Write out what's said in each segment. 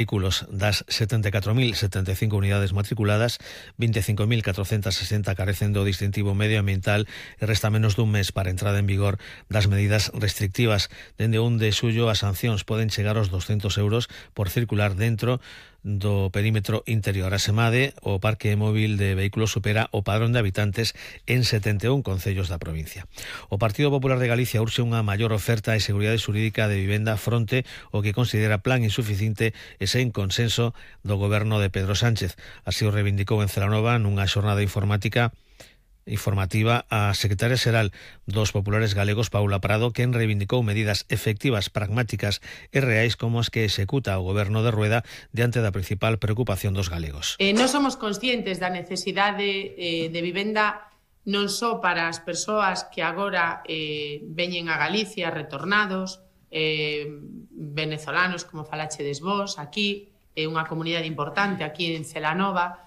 vehículos das 74.075 unidades matriculadas, 25.460 carecen do distintivo medioambiental e resta menos dun mes para a entrada en vigor das medidas restrictivas. Dende 1 de xullo as sancións poden chegar aos 200 euros por circular dentro do perímetro interior. Asemade, o parque móvil de vehículos supera o padrón de habitantes en 71 concellos da provincia. O Partido Popular de Galicia urxe unha maior oferta e seguridade xurídica de vivenda fronte o que considera plan insuficiente e sen consenso do goberno de Pedro Sánchez. Así o reivindicou en Celanova nunha xornada informativa a secretaria xeral dos populares galegos, Paula Prado, quen reivindicou medidas efectivas, pragmáticas e reais como as que executa o goberno de Rueda diante da principal preocupación dos galegos. Non somos conscientes da necesidade de vivenda non só para as persoas que agora veñen a Galicia retornados, venezolanos, como falachedes vos, aquí, unha comunidade importante aquí en Celanova,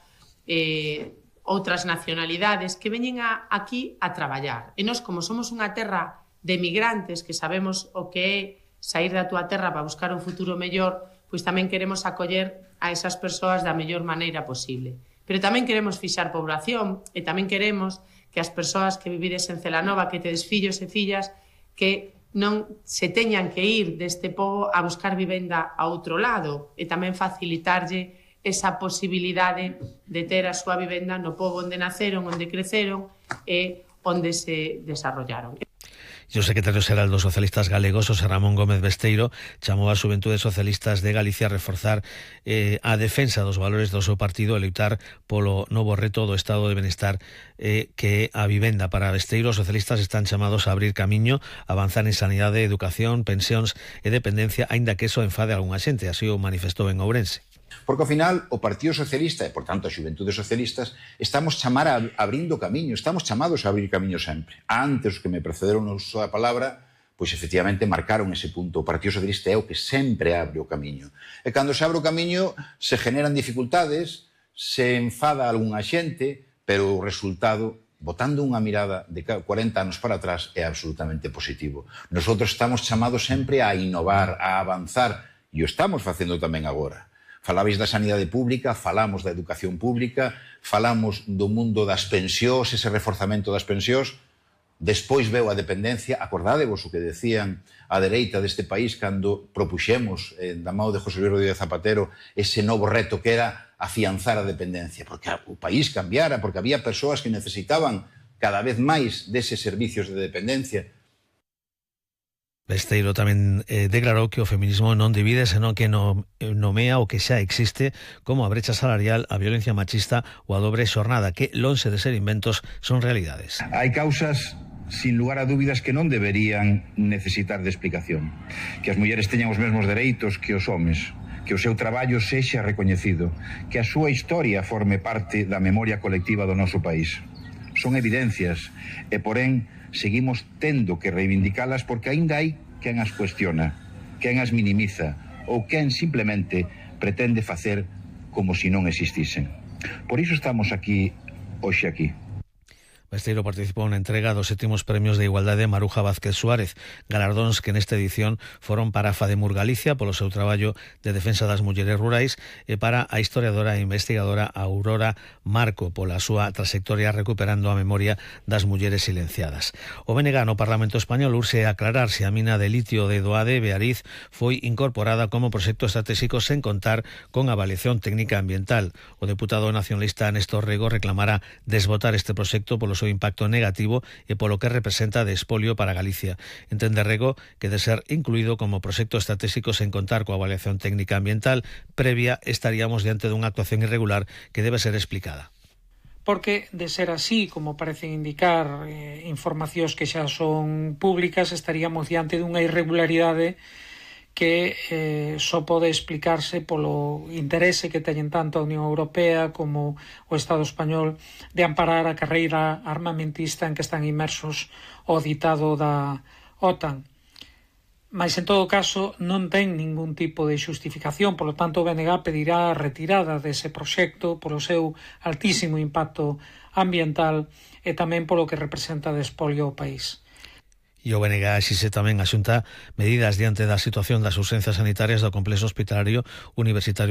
outras nacionalidades que veñen aquí a traballar. E nós, como somos unha terra de migrantes que sabemos o que é sair da túa terra para buscar un futuro mellor, pois tamén queremos acoller a esas persoas da mellor maneira posible. Pero tamén queremos fixar población e tamén queremos que as persoas que vivides en Celanova, que tedes fillos e fillas, que non se teñan que ir deste pobo a buscar vivenda a outro lado e tamén facilitarlle esa posibilidade de ter a súa vivenda no pobo onde naceron, onde creceron e onde se desarrollaron. E o secretario xeral dos socialistas galegos, José Ramón Gómez Besteiro, chamou a Xuventudes Socialistas de Galicia a reforzar a defensa dos valores do seu partido e lutar polo novo reto do estado de benestar que é a vivenda. Para Besteiro, os socialistas están chamados a abrir camiño, avanzar en sanidade, educación, pensións e dependencia, aínda que eso enfade a algunha xente, así o manifestou en Ourense. Porque ao final o Partido Socialista e, por tanto, as Xuventudes Socialistas estamos abrindo camiño, estamos chamados a abrir camiño sempre. Antes, os que me precederon no uso da palabra, pois efectivamente marcaron ese punto. O Partido Socialista é o que sempre abre o camiño. E cando se abre o camiño se generan dificultades, se enfada algunha xente, pero o resultado, botando unha mirada de 40 anos para atrás, é absolutamente positivo. Nosotros estamos chamados sempre a innovar, a avanzar, e o estamos facendo tamén agora. Falabais da sanidade pública, falamos da educación pública, falamos do mundo das pensións, ese reforzamento das pensións. Despois veu a dependencia. Acordádevos o que decían a dereita deste país cando propuxemos da mão de José Luis Rodríguez Zapatero ese novo reto que era afianzar a dependencia, porque o país cambiara, porque había persoas que necesitaban cada vez máis deses servicios de dependencia. Besteiro tamén declarou que o feminismo non divide, senón que nomea o que xa existe, como a brecha salarial, a violencia machista ou a dobre xornada, que, lonxe de ser inventos, son realidades. Hai causas, sin lugar a dúbidas, que non deberían necesitar de explicación. Que as mulleres teñan os mesmos dereitos que os homes, que o seu traballo sexa recoñecido, que a súa historia forme parte da memoria colectiva do noso país. Son evidencias e, porén, seguimos tendo que reivindicalas porque aínda hai quen as cuestiona, quen as minimiza ou quen simplemente pretende facer como se non existisen. Por iso estamos aquí, hoxe aquí. Besteiro participou na entrega dos 7º premios de igualdade Maruja Vázquez Suárez, galardóns que nesta edición foron para Fademur Galicia polo seu traballo de defensa das mulleres rurais e para a historiadora e investigadora Aurora Marco pola súa trayectoria recuperando a memoria das mulleres silenciadas. O BNG no Parlamento Español urxe aclarar se a mina de litio de Doade, Beariz, foi incorporada como proxecto estratégico sen contar con avaliación técnica ambiental. O deputado nacionalista Néstor Rego reclamará desbotar este proxecto polo seu impacto negativo e polo que representa de espolio para Galicia. Entende Rego que de ser incluído como proxecto estratégico sen contar coa avaliación técnica ambiental previa estaríamos diante dunha actuación irregular que debe ser explicada. Porque, de ser así, como parecen indicar informacións que xa son públicas, estaríamos diante dunha irregularidade que só pode explicarse polo interese que teñen tanto a Unión Europea como o Estado español de amparar a carreira armamentista en que están inmersos o ditado da OTAN. Mas, en todo caso, non ten ningún tipo de xustificación, polo tanto o BNG pedirá a retirada dese proxecto polo seu altísimo impacto ambiental e tamén polo que representa de espolio ao país. E o BNG exixe tamén a Xunta medidas diante da situación das urxencias sanitarias do complexo hospitalario universitario